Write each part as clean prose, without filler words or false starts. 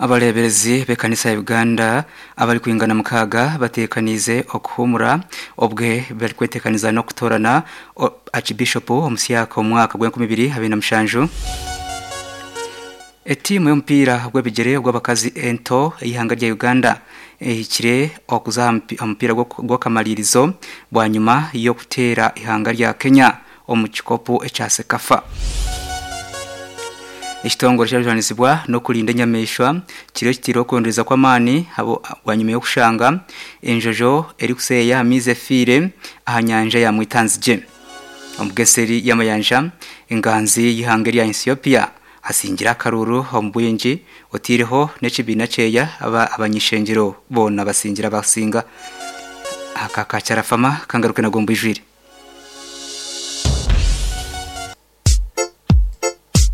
Abareeberezi b'ekanisa ya Uganda abarikwingana mukaaga bateekaniize okuhuumura obwe barikweteekaniza n'okutoorana Archbishop omusyaka omu mwaka gw'enkumi ibiri abiri na mushanju. Etiimu y'omupiira gw'ebigyere ogw'abakazi ento ey'eihanga rya Uganda ehikire okuza aha mupiira gw'akamaririzo bwanyima y'okuteera eihanga rya Kenya omu kikopo ekya CECAFA. Ekitongore ekirikujunaanizibwa n'okurinda enyamaishwa kiriyo kitiireho okwongyereza kw'amaani bwanyima y'okushanga enjojo erikuseeyeya aha maizi efiire aha nyanja ya Mwitanzigye. Omu Geseri y'amayanja, enganzi y'eihanga erya Ethiopia asingire akaruuru omu bwingi otaireho n'ekibiina kyeya abany'ishengyero boona basingire abasinga. Aka ka Kyarafama kangaruke nago mbwijwire.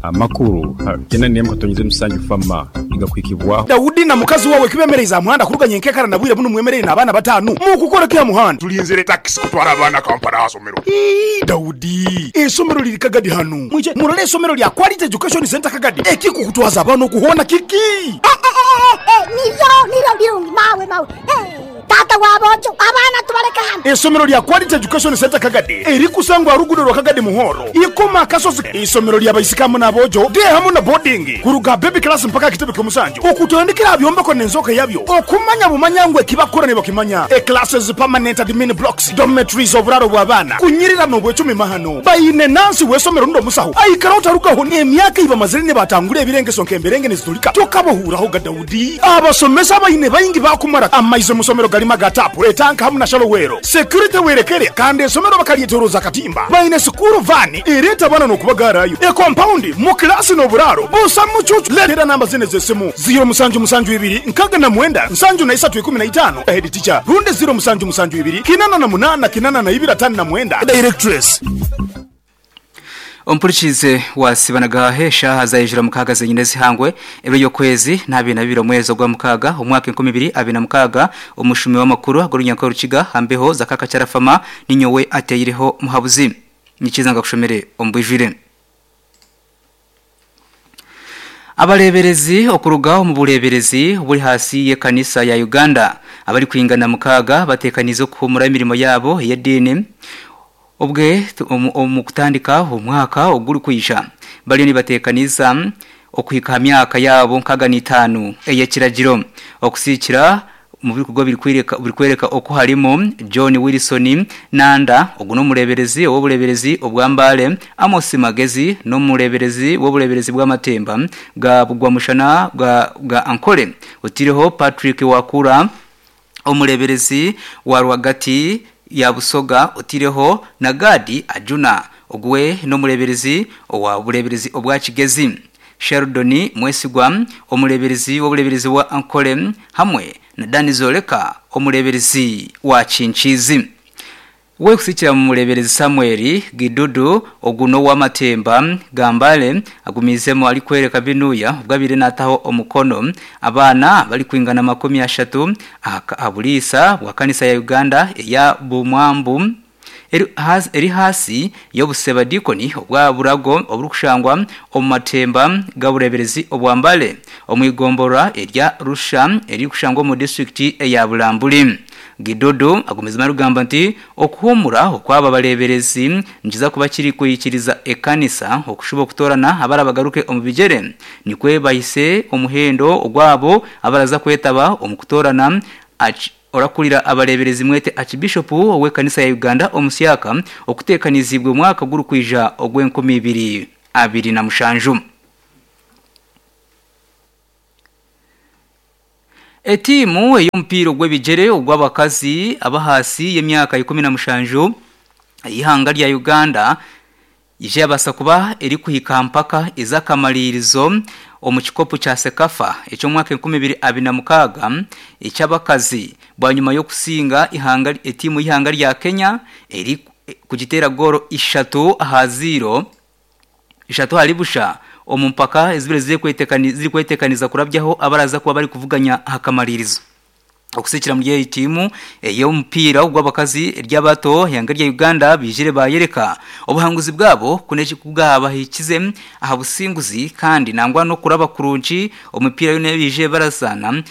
Amakuru gena nemu katonyize musanju fama nigakuhikibwaho. Daudi na mukazi wawe kibemereize aha muhanda kuruga nyenkekara na bwire bunu mwemereire n'abaana batanu? Mukukora ki aha muhanda? Tulinzire takisi kutwara abaana Kampala aha somero. Ii, Daudi, eisomero liri Kagadi hanu. Mwije murole eisomero lya Quality Education Centre Kagadi. Ekikukutwaza abaana oku hoona kiki? Niryo, niryo birungi mawe, mawe. Taata wa boojo, abaana tubaleke hanu. Eisomero lya Quality Education Centre Kagadi erikusangwa aha ruguudo rwa Kagadi Muhoro, Ikoma Akasozi. Eisomero lya baisiki hamu n'aboojo, day hamu na boarding, kuruga aha baby class mpaka aha kitebe ky'omusanju, okutandikira aha byombeko n'enzooka yabyo, okumanya bumanya ngu eki bakukora nibakimanya, e classes, permanent admin blocks, dormitories, oburaaro bw'abaana, kunyirira n'obwecumi mahano. Baine nansi w'eisomero rundi omusaho aikaraho tarugaho n'emyaka ei bamazire nibatangura ebirengeso nk'emberenge niziturika tokabahuuraho ga Daudi. Abasomesa abaine baingi baakumara amaizi omu somero garimu aga taapu, etanka hamu na shallow well. Security werekere kandi esomero bakaryetoroza akatimba. Baine sikuuru vaani ereeta abaana n'okubagaarayo. Ekompaundi mu kilaasi n'oburaaro busa mucuucu. Leetera namba zinu ez'esimu, ziiro musanju musanju ibiri nkaga na mwenda nsanju na isatu ikumi na itaano, Head teacher, rundi ziiro musanju musanju ibiri kinana na munana kinana na ibiri atano na mwenda, Directress. Ompurikiize waasiba na gaahe eshaaha zaijura mukaaga zenyine ezihangwe ebiro by'okwezi n'abiri na bibiri omwezi ogwa mukaaga omwaka 2026 omushumi w'amakuru ag'orunyanka orukiga aha mbeho za Kakakyarafama ninyowe ateireho muhabuzi. Nikiza nkakushomere omu bwijwire. Abareeberezi okuruga omu bureeberezi oburi ahansi y'ekanisa ya Uganda abarikwingana mukaaga bateekaniize okuhuumura emirimo yaabo ey'ediini obwe omu kutandika omwaka ogurikwija. Bariyo nibateekaniza okuhika aha myaka yaabo 65 ey'ekiragiro okusiikira Omu bikorwa birikworeka oku harimu, John Wilson Nanda, ogu n'omureeberezi ow'obureeberezi obwa Mbale, Amos Magezi n'omureeberezi w'obureeberezi bw'amatemba ga Bugwamushana bwa Ankole, otaireho Patrick Wakura omureeberezi wa rwagati ya Busoga otaireho na Gad Ajuna ogu we n'omureeberezi owa bureeberezi obwa Kigezi. Sheldon Mwesigwa, omureeberezi w'obureeberezi bwa Ankole hamwe na Dan Zoleka omureeberezi wa Kinkiizi. Wekusikira mu mureeberezi Samuel Gidudu ogu n'ow'amatemba ga Mbale agumiizemu arikworeka binuya obu abaire nataho omukono abaana abarikwingana 30 aha buriisa bwa kanisa ya Uganda eya Bumwambu Eri ahaasi y'obusebadiikoni obwa Burago oburikushangwa omu matemba g'obureeberezi obwa Mbale omu igomborora erya Rusha eririkushangwa omu disiturikiti eya Bulambuli. Gidudu agumizemu arikugamba nti okuhuumura okw'aba bareeberezi nikiza kuba kirikwikiriza ekanisa okushuba okutoorana abarabagaruke omu bigyere nikwo bahise omuhendo ogw'abo abaraza kwetaba omu kutoorana Orakurira abareeberezi mwete Archbishop w'ekanisa ya Uganda omusyaka okuteekaniziibwe omwaka gurikwija ogw'enkumi ibiri abiri na mushanju. Etiimu ey'omupiira ogw'ebigyere ogw'abakazi ab'ahaasi y'emyaka 17 ey'eihanga rya Uganda Ije yabaasa kuba erikuhika aha mpaka ez'akamariirizo omu kikopo kya CECAFA eky'omwaka 2026 eky'abakazi bwanyima y'okusinga eihanga etiimu y'eihanga rya Kenya erikugiteera goolo ishatu aha ziiro ishatu ahari busha omu mpaka ezibaire zirikwetekaniza kurabyaho abaraza kuba barikuvuganya aha kamariirizo. Okusikira muri egi tiimu ey'omupiira ogw'abakazi ery'abato eihanga rya Uganda baijire bayereka obuhanguzi bwabo ku bwabahikize aha businguzi kandi nangwa n'okuraba kurungi omu mipiira yoona ei baijire barazaana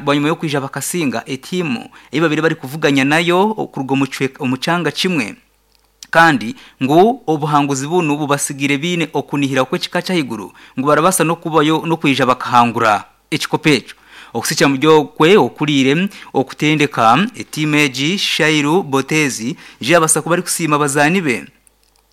bwanyima y'okwija bakasinga etiimu ei babaire barikuvuganya nayo kuruga omu kyanga kimwe. Kandi ngu obuhanguzi bunu bubatsigaire baine okunihira kw'ekika ky'ahaiguru ngu barabaasa n'okubayo n'okwija bakahangura ekikopo ekyo. Okusikira omuri okwe okuriire okutendeka etiimu egi, Shairu Botezi ije yabaasa kuba arikusiima abazaani be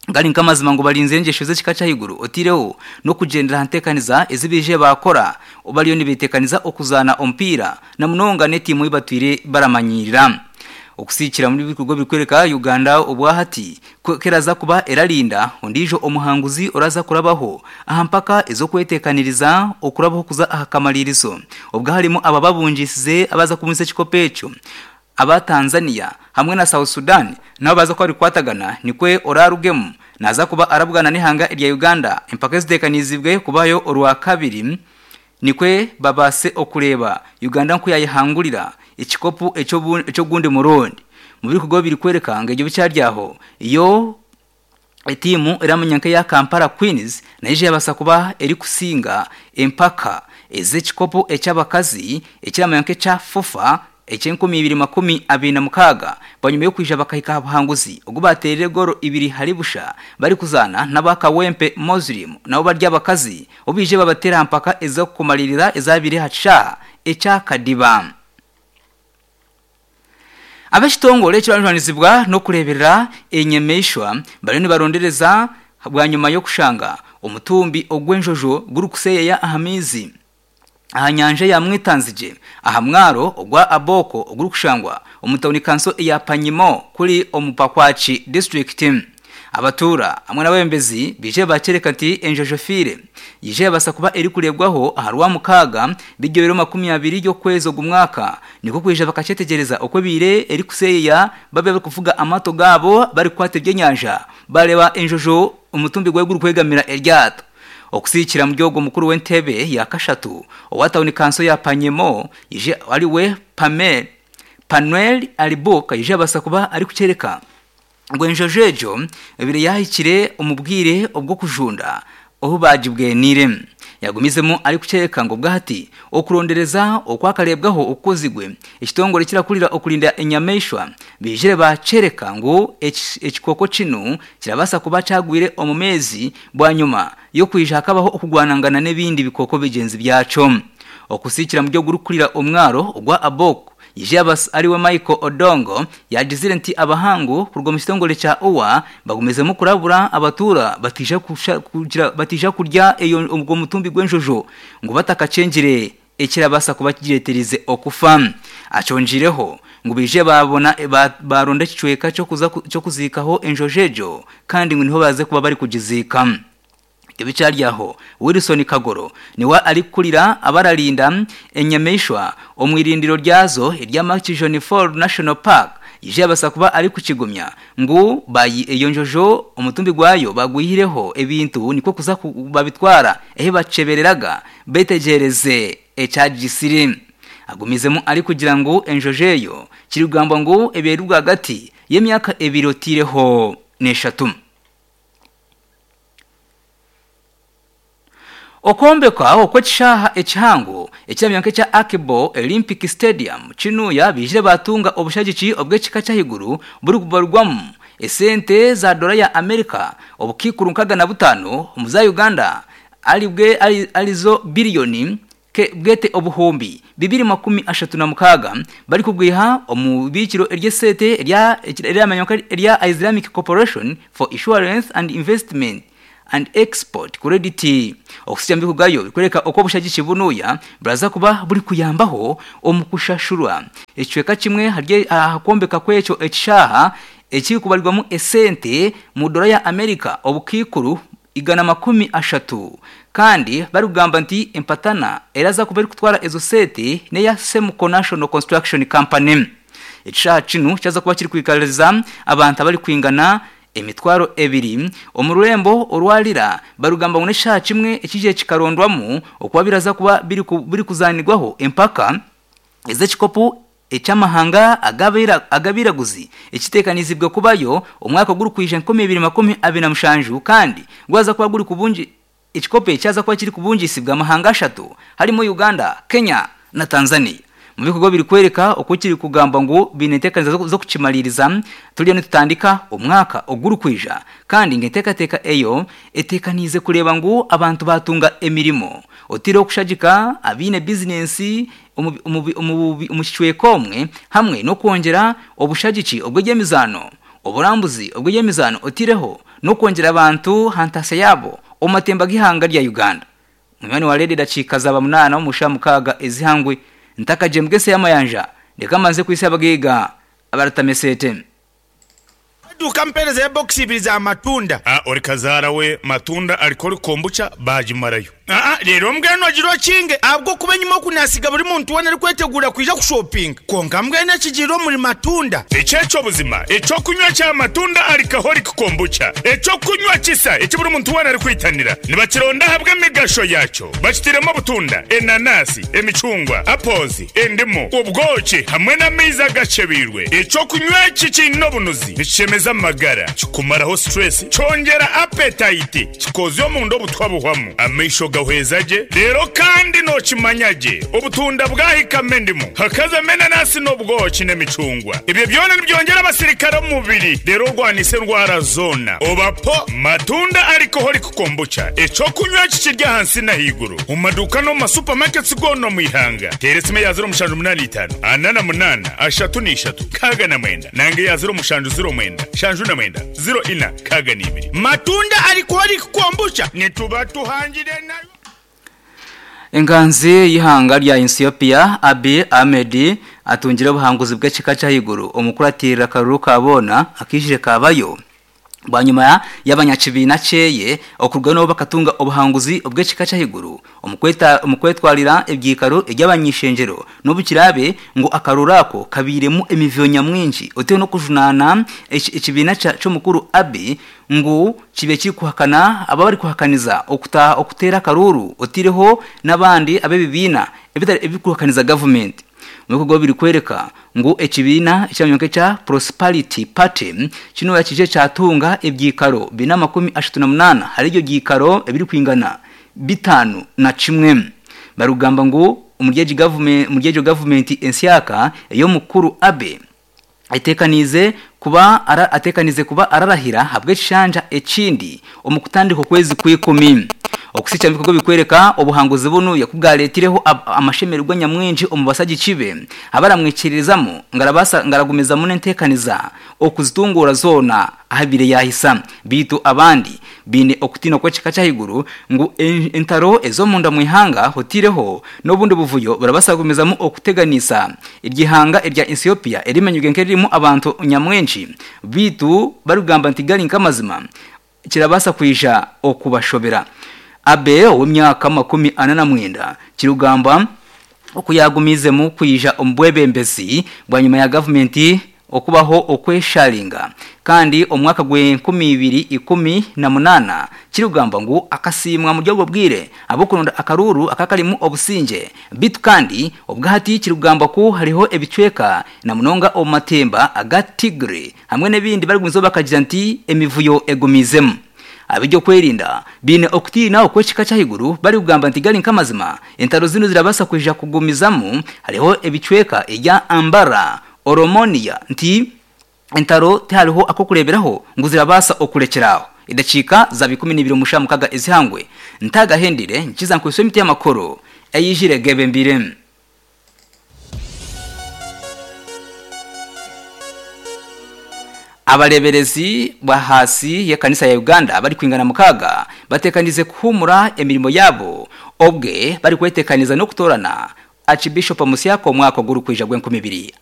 gari nk'amazima ngu barinzire engyesho z'ekika ky'ahaiguru otaireho n'okugyendera aha nteekaniza ezi baije baakora bariyo nibeteekaniza okuzaana omupiira na munonga n'etiimu ei batwire baramanyiirira. Okusiikira omuri ebikorwa ebirikworeka Uganda obwahati ku eraza kuba erarinda ondiijo omuhanguzi oraza kurabaho aha mpaka ez'okweteekaniriza okurabaho kuza aha kamaririzo obwo harimu abo ababungiisize abaza kubunisa ekikopo ekyo aba Tanzania hamwe na South Sudan nabo baza kuba barikukwatagana nikwo orarugemu naza kuba arabugana n'eihanga erya Uganda empaka eziteekaniizibwe kubayo orwakabiri Nikwo babaase okureeba Uganda nku yayehangurira ekikopo eky'ogundi murundi. Mu birikugaho birikworeka ngu ebyo bikyari aho, yo etiimu eramanywa nk'eya Kampala Queens nayo eija yabaasa kuba erikusinga empaka ez'ekikopo eky'abakazi ekiramanywa nk'ekya FUFA eky'e 2026 bwanyima y'okwija bakahika aha buhanguzi ogu baateerire goolo ibiri ahari busha barikuzaana n'aba Kawempe Muslim nabo bari abakazi obu baije babateera aha mpaka ez'okumariirira ezaabaire aha kishaaha ekya Kadiba. Ab'ekitongore ekirikujunaanizibwa n'okureeberera enyamaishwa bariyo nibarondereza bwanyima y'okushanga omutumbi ogw'enjojo gurikuseeyeeya aha maizi. aha nyanja ya Mwitanzigye aha mwaro ogwa Abooko ogurikushangwa omu tauni kanso eya Panyimo kuri omu Pakwaki disiturikiti. Abatuura hamwe n'abebembezi baija bakyereka nti enjojo efiire yaija yabaasa kuba erikureebwaho aha Rwamukaaga biryo biro 20 y'okwezi ogu mwaka nikwo kwija bakakyetegyereza oku ebaire erikuseeyeya babe barikuvuga amaato gaabo barikukwata ebyenyanja bareeba enjojo omutumbi gwayo gurikwegamira eryato. Okusiikira omuri ogwo mukuru w'entebe ya kashatu owa tauni kanso ya Panyemo ije ariwe Pamel Panuel Alibuk aije yabaasa kuba arikukyereka ngu enjojo egyo ebaire yahikire omu bwire obw'okujunda obu baagibweniire. Yagumizemu arikukyereka ngu obwahati okurondereza okwakareebwaho okukozigwe ekitongore ekirakurira okurinda enyamaishwa baijire baakyereka ngu ekikooko kinu kirabaasa kuba kyagwire omu meezi Bwanyima y'okwija hakabaho okugwanangana n'ebindi bikooko bigyenzi byakyo. Okusiikira muri ogurikurira omwaro ogwa Abok, Ijabas ariwe Michael Odongo yaagizire nti abahangu kuruga omu kitongore kya UWA bagumizemu kurabura abatuura bataija kurya ogwo mutumbi gw'enjojo ngu batakakyengire ekirabaasa kuba kigireetereize okufa. Akyongiireho ngu baije baabona baaronda ekicweka ky'okuziikaho enjojo egyo kandi ngu niho baaze kuba barikugiziika. Ebikyari aho, Wilson Kagoro niwe arikukurira abararinda enyamaishwa omu irindiro ryazo erya Murchison Falls National Park yaija yabaasa kuba arikukigumya ngu eyo njojo omutumbi gwayo bagwihireho ebintu nikwo kuza babitwara ahi bakyebereraga Betegyereze ekyagisire. Agumizemu arikugira ngu enjojo eyo kirikugambwa ngu ebaire eri rwagati y'emyaka ebiri otaireho n'eshatu. Okwombekwa okw'ekishaaha ekihango ekiramanywa nk'ekya Akebo Olympic Stadium Kinuya baijire baatunga obushagiki obw'ekika ky'ahaiguru burikubarwamu esente za dola ya America obukaikuru 65 omu za Uganda aribwe arizo biriyoni bwete 236,000 barikugwiha omu ibiikiro ery'esente eryamanywa nka erya Islamic Corporation for Insurance and Investment and Export Credit. Okuhitsya omu bikugayo birikworeka oku obushagiki bunuya buraza kuba burikuyambaho omu kushashurwa ekicweka kimwe aha kwombeka kw'ekyo ekishaaha ekirikubarirwamu esente mu dola ya America obukaikuru 130 kandi barikugamba nti empatana eraza kuba erikutwara ezo sente neya Semco National Construction Company. Ekishaaha kinu kyaza kuba kirikwikariza abantu abarikwingana 20,000 omu rurembo orwa Lira barikugamba ngu n'ekishaaha kimwe ekiije kikarondwamu okuba biraza kuba birikuzaanirwaho empaka ez'ekikopo. eky'amahanga ag'abairaguzi ekiteekanizibwe kubayo omwaka ogurikwija 2027 kandi gwaza kuba guri kubungi ekikopo ekyaza kuba kiri kubungisibwa amahanga ashatu harimo Uganda, Kenya na Tanzania. Mu bikorwa biri kwereka oku kiri kugamba ngu biine enteekanisa z'okukimaliriza turiyo nitutandika omwaka ogurikwija kandi ngu enteekateeka eyo eteekaniize kureeba ngu abantu batunga emirimo otiireho okushagika abaine bizinensi omu kicweka omwe hamwe n'okwongyera obushagiki obw'eby'emizaano oburambuzi obw'eby'emizaano otiireho n'okwongyera abantu aha ntaasya yaabo omu matemba g'eihanga rya Uganda. Munywani wa reediyo edakiika zaaba munaana omu shaaha mukaaga ez'eihangwe ntakagyembwa ensi y'amayanja ndeka mbanze kwitsya abagaiga abaratameseete. Eduuka mpeereza ebokisi ibiri za matunda. A Ori kazaara we matunda alcoholic kombucha baagimarayo. Aa Reero mbwenu ogire okinge ahabw'okuba enyima oku naasiga buri muntu weena arikweteguura kwija kushopinga. Kwonka mbwenu ekigiire omuri matunda. Eki eky'obuzima eky'okunywa kya matunda alcoholic kombucha, eky'okunywa kisa eki buri muntu weena arikwitanira. Nibakironda ahabw'emigasho yaakyo. Bakitairemu obutunda, enanasi, emicungwa, apples, endimu, obwoki hamwe n'amaizi agakyebeirwe. Eky'okunywa eki kiine obunuzi, nikishemeza amagara, kikumaraho stress, kyongyera appetite, kikoozya omunda obutwa buhwamu, amaisho gahweza gye, reero kandi nookimanya gye obutunda bwahikamu endimu, hakazamu enanasi n'obwoki n'emicungwa. Ebyo byona nibyongyera abasirikare omu mubiri reero orwanise endwara zoona. Oba po Matunda Alcoholic Kombucha, eky'okunywa eki kiri ahansi n'ahaiguru omu maduuka n'omu ma supermarkets goona omu ihanga. Teera esimu eya 0785 48 33 69 nanga eya 0709 79 04 62. Matunda Alcoholic Kombucha nituba tuhangire nayo. Enganzi y'eihanga rya Ethiopia, Abiy Ahmed atungire obuhanguzi bw'ekika ky'ahaiguru omu kuratirira akaruru ka boona akaijire kabayo bwanyima y'abanyakibiina kyeye okurugayo nabo bakatunga obuhanguzi obw'ekika ky'ahaiguru omu kwetwarira ebyikaro eby'abany'ishengyero n'obu kiraabe ngu akaruru ako kabairemu emivuyo nyamwingi oteho n'okujunaana ekibiina ky'omukuru Abiy ngu kibe kirikuhakana abo abarikuhakaniza okuteera akaruuru oteireho n'abandi ab'ebibiina ebirikuhakaniza gavumenti. Omu bikorwa birikworeka ngu ekibiina ekiramanywa nk'ekya Prosperity Party kinu yakije kyatunga ebyikaro bina 38 ahari ebyo byikaro ebirikwingana 51. Barikugamba ngu omuri egyo gavumenti ensyaka ey'omukuru Abiy atekaniize kuba atekaniize kuba ararahira ahabw'ekishanja ekindi omu kutandika okwezi kw'ikumi. Okusikya omu bikorwa ebirikworeka obuhanguzi bunu ku bwaretireho amashemererwa nyamwingi omu basagiki be abaramwikiririzamu ngu arabaasa ngu aragumizamu n'enteekaniza okuzitunguura zoona ahabaire yaahisa. Beitu abandi baine okutiina kw'ekika ky'ahaiguru ngu entaro ez'omunda mu ihanga otaireho n'obundi buvuyo burabaasa kugumizamu okuteganisa eryo ihanga erya Ethiopia erimanyirwe nk'eririmu abantu nyamwingi beitu barikugamba nti gari nk'amazima kirabaasa kwija okubashobera. Abe ow'emyaka 49 kirikugambwa oku yaagumiizemu kwija omu bwebembezi bwanyima ya gavumenti okubaho okwesharinga kandi omu mwaka gw'enkumi ibiri ikumi na munaana kirikugambwa ngu akasiimwa omuri obwo bwire ahabw'okuronda akaruuru akakarimu obusingye beitu kandi obwahati kirikugambwa ku hariho ebicweka na munonga omu matemba aga Tigray hamwe n'ebindi barikugumizaho bakagira nti emivuyo egumiizemu. Ab'eby'okwerinda baine okutiina okw'ekika ky'ahaiguru barikugamba nti gari nk'amazima entaro zinu zirabaasa kwija kugumizamu hariho ebicweka erya Ambara, Oromonia nti entaro tihariho ak'okureeberaho ngu zirabaasa okurekyera aho. Edakiika zaaba 12 omu shaaha mukaaga ez'eihangwe ntagahendire nkiza nkwitswe emiti y'amakuru eyijire gebembire. Abareeberezi b'ahaasi y'ekanisa ya Uganda abarikwingana mukaaga bateekaniize kuhuumura emirimo yaabo obwe barikweteekaniza n'okutoorana Archbishop omusya omwaka ogurikwija gw'enkumi ibiri.